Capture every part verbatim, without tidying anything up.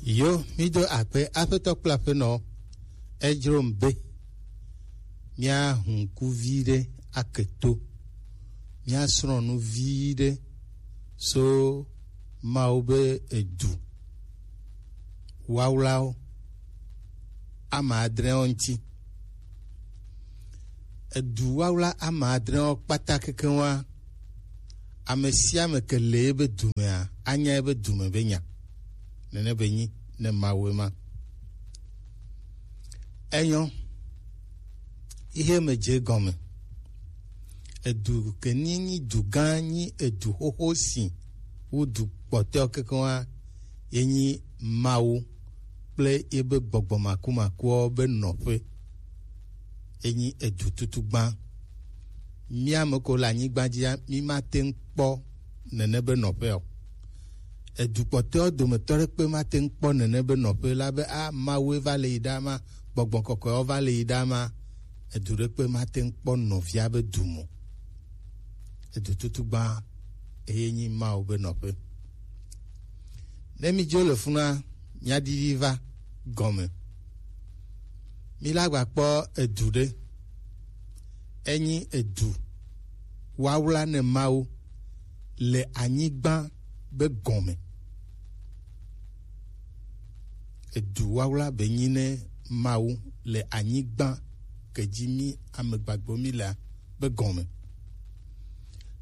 Yo, mi do akpe Aƒetɔ kple Aƒenɔ. Edzro m be mía hu ŋku vi ɖe ake to, mía srɔ̃ nu vi ɖe so Mawu be edu wawlawo ame adrewo ŋuti. Edu wawla ame adrewo kpata kekeŋ wa, ame sia ame ke le ebe dumea, anya ebe dume be nya. Nene be nyi ne Mawu ema. Enyo, ihe me dze gɔme. Edu ke ni nyi du gã, nyi edu xoxo si wu du kpɔtɔewo kekeŋ wa, ye nyi Mawu kple yebe gbɔgbɔ makumakuwo be nɔƒe. Ye nyi edu tutugbã. Mía ame ko le anyigba dzia, mí mate ŋu kpɔ nene be nɔƒe o. Edu kpɔtɔewo dometɔ ɖekpe mate ŋu kpɔ nene be nɔƒe la be, a, Mawue va le yi ɖa ma, gbɔgbɔ kɔkɔewo va le yi ɖa ma. Edu ɖekpe mate ŋu kpɔ nɔvia be du mo. Edu tutugbã eye nyi Mawu be nɔƒe. Ne mi dzo le funa, mia didi va gɔme. Mi la gba kpɔ edu ɖe. Enyi edu wawla ne Mawu le anyigba be gɔme. Edu wawla be nyi ne Mawu le anyigba ke dzi mi amegbagbewo mi lea be gɔme.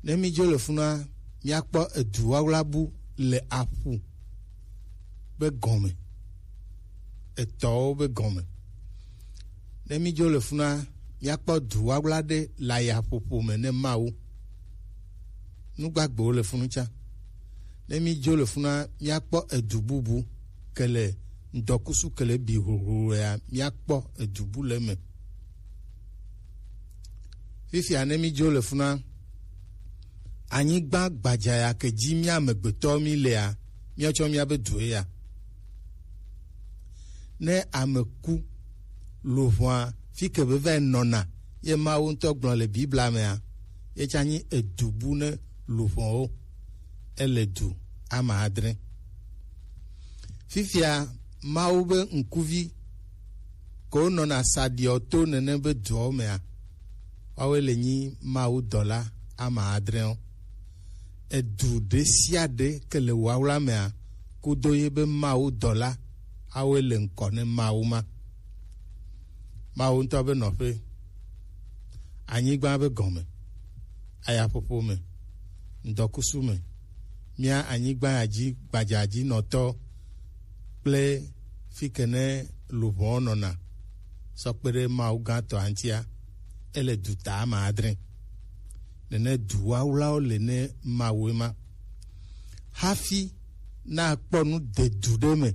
Ne mi dzo le funa, miakpɔ edu wawla bu le aƒu be gɔme, etɔwo be gɔme. Ne mi dzo le funa, miakpɔ du wawla ɖe le ayaƒoƒo me ne Mawu. Nu gbagbewo le funu tsã. Ne mi dzo le funa, miakpɔ edu bubu ke le ŋdɔkusu ke le bi hlohlolo ya, miakpɔ edu bu le eme. Fifia ne mi dzo le funa, anyigba gbadza ya ke dzi mía amegbetɔ mi lea, míatsɔ míabe due ya. Ne ame ku, luʋɔa fi ke be va nɔna, ye Mawu ŋutɔ gblɔ le Biblia mea, ye tsã nyi edu bu ne luʋɔwo. Ele du ame adre. Fifia Mawu be ŋkuvi ko nɔna saɖiɔ to nene be duawo mea, woawoe le nyi Mawu dɔla ame adrewo. Edu ɖe sia ɖe ke le wawla mea, kudo ye be Mawu dɔla, awoe le ŋkɔ ne Mawu ma. Mawu ŋutɔ be nɔƒe, anyigba be gɔme, ayaƒoƒo me, ŋdɔkusu me, mía anyigba ya dzi gbadzadzinɔtɔ kple fi ke ne luʋɔ nɔna sɔ kpe ɖe Mawu gãtɔa ŋutia, ele du ta ame adre. Nene du wawlawo le ne Mawue ma. Hafi nakpɔ nu de du ɖe me,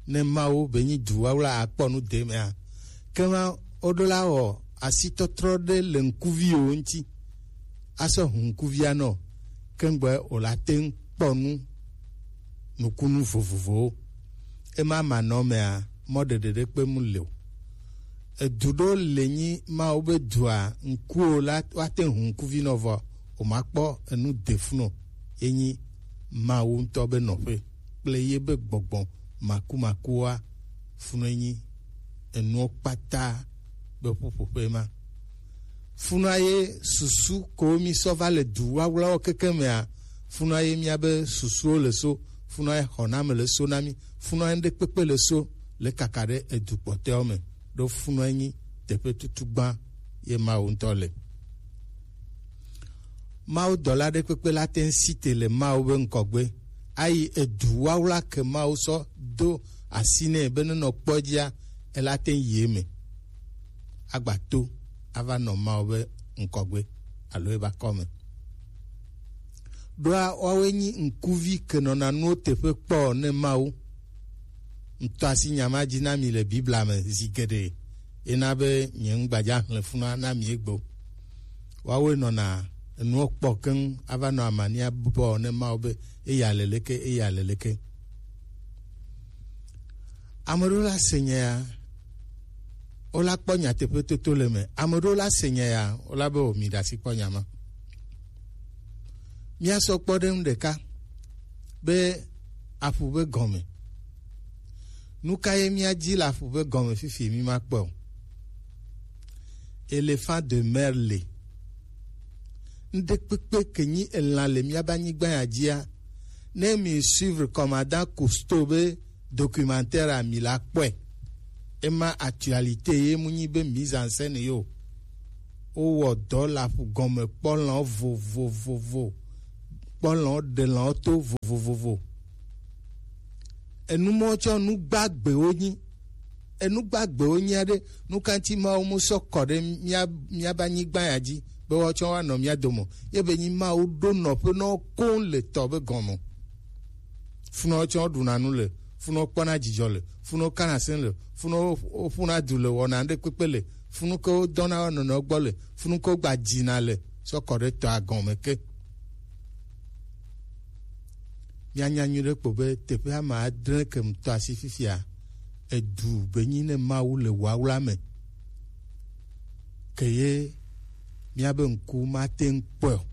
ne Mawu be nyi du wawla akpɔ nu de mea, kema woɖo la wɔ asitɔtrɔ ɖe le ŋkuviwo ŋuti, asɔ hu ŋkuvia nɔ, kengbe wòla te ŋu kpɔ nu nukunu vovovowo. Ema manɔ mea, mɔɖeɖe ɖekpe mu le o. Edu ɖewo le nyi Mawu be dua ŋkuwo la woate ŋu ŋkuvi nɔ vɔ, womakpɔ enu de fu nɔ. Ye nyi Mawu ŋutɔ be nɔƒe kple ye be gbɔgbɔ makumakua fu nɔ nyi enuwo kpata be ƒuƒoƒe ma. Funua ye susu ko mi sɔ va le du wawlawo keke mea, funua ye mia be susuwo le so, funua ye xɔname le so na mi, funua ye ŋɖekpekpe le so le kaka ɖe edu kpɔtɔewo me, ɖo funua ye nyi teƒe tutugbã ye Mawu ŋutɔ le. Mawu dɔla ɖekpekpe la te ŋu si te le Mawu be ŋkɔgbe, ayi edu wawla ke Mawu sɔ do asi nɛ be nenɔ kpɔ dzia, ela te ŋu yi eme. Agba to ava nɔ Mawu be ŋkɔgbe alo ebe akɔme. Ɖoa woawoe nyi ŋkuvi ke nɔna nuwo teƒe kpɔ ne Mawu. Ŋtɔ asi nya ma dzi na mi le Biblia me zi geɖe, ena be nye ŋgbadza xlẽ funa na mi egbe. Woawoe nɔna enuwo kpɔ keŋ ava nɔ amania bɔ ne Mawu be eya le leke, eya le leke. Ame ɖewo la se nya ya, wola kpɔ nyateƒe toto le eme. Ame ɖewo la se nya ya, wola be o mi ɖe asi kpɔ nya ma. Míasɔ kpɔ ɖe ŋu ɖeka be aƒu be gɔme. Nu ka ye míadi le aƒu ƒe gɔme fifi mí makpɔe o? Éléphant de mer le. Ŋɖekpekpe ke nyi elã le míabe anyigba ya dzia, ne mi suivre commandant Cousteau be documentaire a, mi la kpɔe. Ema actualité ye mu nyi be mise en scène yo. Wowɔ dɔ le aƒu gɔme kpɔ lã vovovovo, kpɔ lã ɖe lã to vovovovo. Enu mɔ tsɔ nu gbagbewo nyi. Enu gbagbewo nyi aɖe, nu ka ŋuti Mawu mu sɔ kɔ ɖe mía, míabe anyigba ya dzi be woatsɔ woanɔ mía dome o? Ye be nyi Mawu ɖo nɔƒe na wo koŋ le tɔ be gɔme. Funɔ tsɔ ɖuna nu le, funɔ kpɔna dzidzɔ le, funɔ kana se le, funɔ ƒuna du le, wɔna ɖe kpekpe le, funu ke wodɔna wo nɔnɔewo gbɔ le, funu ke wogba dzina le, sɔ kɔ ɖe tɔa gɔme ke. Míanya nyuie ɖe kpo be teƒe ame adre ke ŋutɔ asi fifia, edu be nyi ne Mawu le wawla me, ke ye míabe ŋku mate ŋu kpɔe o.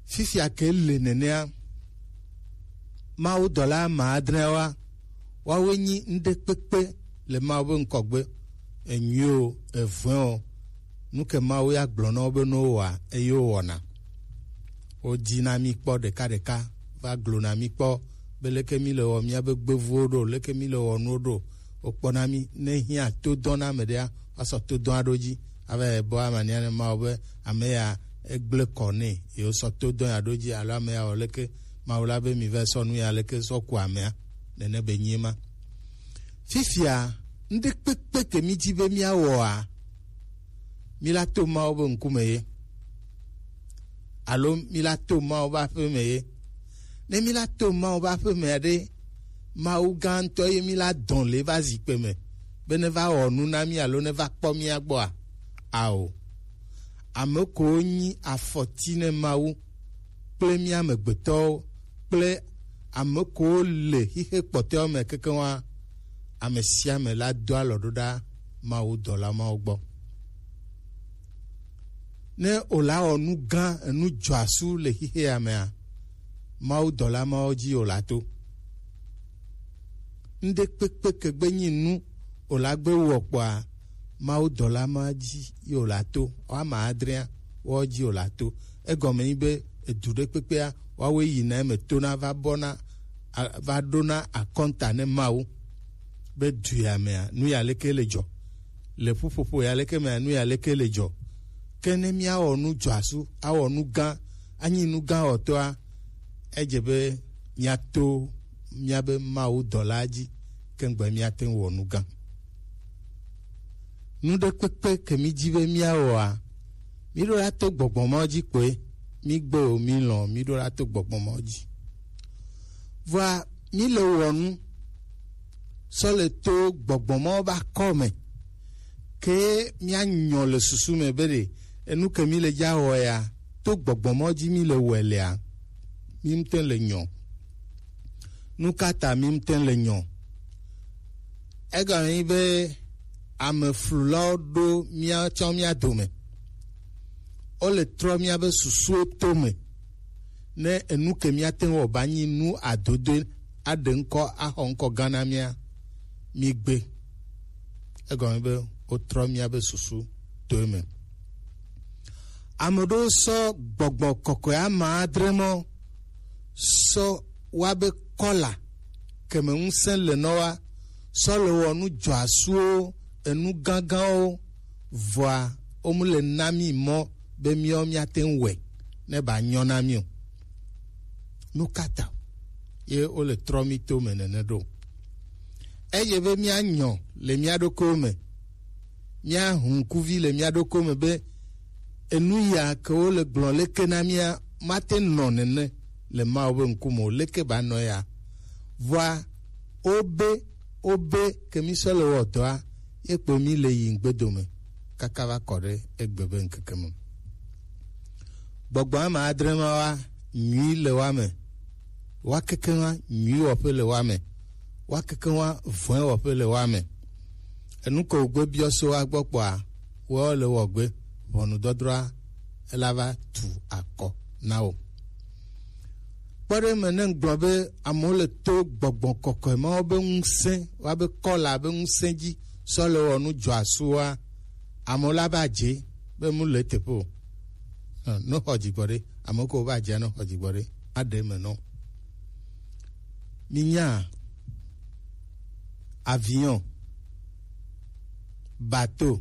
Fifia ke le nenea, Mawu dɔla ame adreawoa, woawoe nyi ŋɖekpekpe le Mawu be ŋkɔgbe, enyuie o, evɔ̃e o, nu ke Mawu ya gblɔ na wo be ne wowɔa, eye wowɔna. Wodina mí kpɔ ɖekaɖeka, va gblɔna mí kpɔ be leke mí le wɔ míabe gbevuwo ɖo, leke mí le wɔ nuwo ɖo. Wokpɔna mí, ne hiã to dɔ na ame ɖea, woasɔ to dɔa ɖo dzi, ava yi bɔ amania ne Mawu be ame ya egblẽ kɔ nɛ, ye wosɔ to dɔ ya ɖo dzi, alo ame ya wɔ leke, Mawu la be mi va sɔ nu ya leke sɔ ku amea, nene be nyi ema. Fifia, ŋɖekpekpe ke mí dzi be míawɔa, mí la to Mawu be ŋkume ye, alo mí la to Mawu be aƒe me ye. Ne mí la to Mawu be aƒe mea ɖe, Mawu gã ŋutɔ ye mí la dɔn le va zikpe me, be ne va wɔ nu na mí alo ne va kpɔ mía gbɔa? Ao. Ame kowo nyi afɔti ne Mawu kple mí amegbetɔwo kple ame kowo le xixe kpɔtɔewo me kekeŋ wa, ame sia ame la do alɔ ɖo ɖa Mawu dɔla mawo gbɔ. Ne wòla wɔ nu gã, enu dzɔasu le xixe ya mea, Mawu dɔla mawo dzi wòla to. Ŋɖekpekpe ke gbe nyi nu wòla gbe wɔ kpɔa, Mawu dɔla ma dzi ye wòla to. Woame adrea, woawo dzi wòla to. Egɔme nyi be edu ɖe kpekpea, woawoe yina eme tona va bɔna, a-, va ɖona akɔnta ne Mawu be du ya mea, nu ya leke le dzɔ? Le ƒuƒoƒo ya leke mea, nu ya leke le dzɔ? Ke ne míawɔ nu dzɔasu, awɔ nu gã, anyi nu gã wɔtɔa, edze be míato míabe Mawu dɔla dzi, ke ŋgbe míate ŋu wɔ nu gã. Nu ɖe kpekpe ke mí dzi be míawɔa, mí ɖo la to gbɔgbɔ mawo dzi kpoe, mí gbe o, mí lɔ̃, mí ɖo la to gbɔgbɔ mawo dzi. Vɔa, mí le wɔ nu sɔ le to gbɔgbɔ mawo be akɔ me, ke míanyɔ le susu me be ɖe enu ke mí le dza wɔ ya, to gbɔgbɔ mawo dzi mí le wɔe lea, mí ŋute le nyɔ. Nu ka ta mí ŋute le nyɔ? Egɔme nyi be ame flulawo ɖo míatsɔ mía dome. Wole trɔ míabe susuwo tome. Ne enu ke míate ŋu wɔ ba nyi nu adodoe, aɖe ŋkɔ, axɔ ŋkɔ gã na mía, mí gbe. Egɔme be wotrɔ míabe susu to eme. Ame ɖewo sɔ gbɔgbɔ kɔkɔe ame adre mɔ sɔ woabe kɔla keme ŋusẽ le nɔ wa sɔ le wɔ nu dzɔasuwo, enu gãgãwo, vɔa womu le na mí mɔ be míawo míate ŋu wɔe ne ba nyɔ na mí o. Nu ka ta ye wole trɔ mí to me nene ɖo? Eye be míanyɔ le mía ɖokuiwo me, míahu ŋkuvi le mía ɖokuiwo me be enu ya ke wole gblɔ leke na mía mate nɔ nene le Mawu be ŋkume o, leke ba nɔ ya? Vɔa wobe, wobe ke mí sɔ le wɔ dɔa, ye kpo mí le yi ŋgbedo me kaka va kɔ ɖe egbe be ŋkeke me. Gbɔgbɔ ame adre ma wa nyui le wa me, wa keke wa nyui wɔƒe le wa me, wa keke wa vɔe wɔƒe le wa me. Enu ke wògbe biɔ so wa gbɔ kpɔa, wɔ le wɔ gbe ʋɔnudɔdrɔa ela va tu akɔ na wo. Kpɔ ɖe eme ne ŋgblɔ be amewo le to gbɔgbɔ kɔkɔe mawo be ŋusẽ, woabe kɔla be ŋusẽ dzi sɔ le wɔ nu dzɔasu wa, amewo la be adze be mu le teƒe o. Hã, ne xɔ dzigbɔ ɖe, amewo ke wobe adzea ne xɔ dzigbɔ ɖe, aɖe eme nɔ. Minya avion, bateau,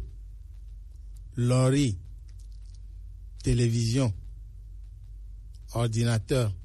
lɔri, télévision, ordinateur,